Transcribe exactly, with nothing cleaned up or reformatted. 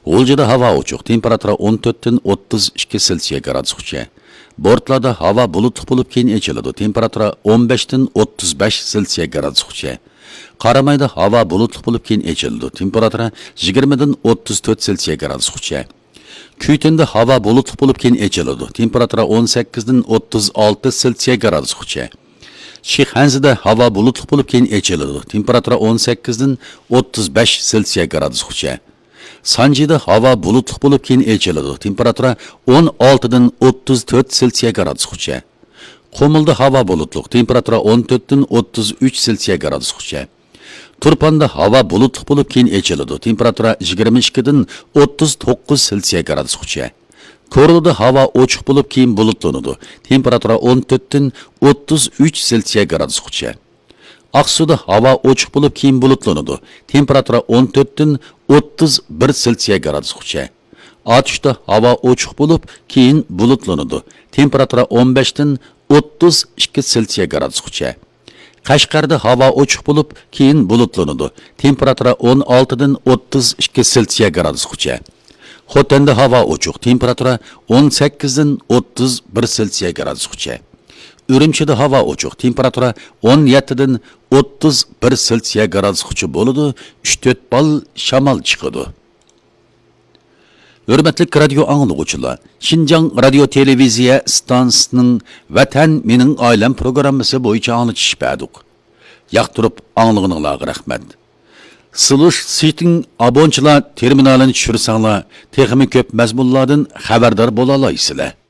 غۇلجىدا ھاۋا ئوچۇق، تېمپېراتۇرا ئون تۆتتىن ئوتتۇز ئىككى سېلسىيە گرادۇسقىچە. بورتلادا ھاۋا بۇلۇتلۇق بولۇپ، كېيىن ئېچىلىدۇ، تېمپېراتۇرا ئون بەشتىن ئوتتۇز بەش سېلسىيە گرادۇسقىچە. قارامايدا ھاۋا بۇلۇتلۇق بولۇپ، كېيىن ئېچىلىدۇ، تېمپېراتۇرا يىگىرمىدىن ئوتتۇز تۆت سېلسىيە گرادۇسقىچە. كۈيتۈندە ھاۋا بۇلۇتلۇق بولۇپ، كېيىن ئېچىلىدۇ، تېمپېراتۇرا ئون سەككىزدىن ئوتتۇز ئالتە سېلسىيە گرادۇسقىچە. شىخەنزىدە ھاۋا بۇلۇتلۇق بولۇپ، كېيىن ئېچىلىدۇ، تېمپېراتۇرا ئون سەككىزدىن ئوتتۇز بەش سېلسىيە گرادۇسقىچە. سانجىدا ھاۋا بۇلۇتلۇق بولۇپ، كېيىن ئېچىلىدۇ، تېمپېراتۇرا ئون ئالتىدىن ئوتتۇز تۆت سېلسىيە گرادۇسقىچە. قۇمۇلدا ھاۋا بۇلۇتلۇق، تېمپېراتۇرا ئون تۆتتىن ئوتتۇز ئۈچ سېلسىيە گرادۇسقىچە. تۇرپاندا ھاۋا بۇلۇتلۇق بولۇپ، كېيىن ئېچىلىدۇ، تېمپېراتۇرا يىگىرمە ئىككىدىن ئوتتۇز توققۇز سېلسىيە گرادۇسقىچە. كورلىدا ھاۋا ئوچۇق بولۇپ، كېيىن بۇلۇتلىنىدۇ، تېمپېراتۇرا ئون تۆتتىن ئوتتۇز ئۈچ سېلسىيە گرادۇسقىچە. ئاقسۇدا ھاۋا ئوچۇق بولۇپ، كېيىن بۇلۇتلىنىدۇ، تېمپېراتۇرا ئون تۆتتىن ئوتتۇز بىر سېلسىيە گرادۇسقىچە. ئاتۇشتا ھاۋا ئوچۇق بولۇپ، كېيىن بۇلۇتلىنىدۇ، تېمپېراتۇرا ئون بەشتىن ئوتتۇز ئىككى سېلسىيە گرادۇسقىچە. قەشقەردە ھاۋا ئوچۇق بولۇپ، كېيىن بۇلۇتلىنىدۇ، تېمپېراتۇرا ئون ئالتىدىن ئوتتۇز ئىككى سېلسىيە گرادۇسقىچە. خوتەندە ھاۋا ئوچۇق، تېمپېراتۇرا ئون سەككىزدىن ئوتتۇز بىر سېلسىيە گرادۇسقىچە. ئۈرۈمچىدە ھاۋا ئوچۇق، تېمپېراتۇرا ئون يەتتىدىن ئوتتۇز بىر سېلسىيە گرادۇسقىچە بولىدۇ، ئۈچ تۆت بال شامال چىقىدۇ. ھۆرمەتلىك رادىيو ئاڭلىغۇچىلار، شىنجاڭ رادىيو تېلېۋىزىيە ئىستانسىسىنىڭ ۋەتەن مېنىڭ ئائىلەم پروگراممىسى بويىچە ئاڭلىتىش بەردۇق. ياقتۇرۇپ ئاڭلىغىنىڭلارغا رەھمەت. سلۇش سىتىڭ ئابونچىلار تېرمىنالىنى چۈشۈرسەڭلار، تېخىمۇ كۆپ مەزمۇنلاردىن خەۋەردار بولالايسىلەر.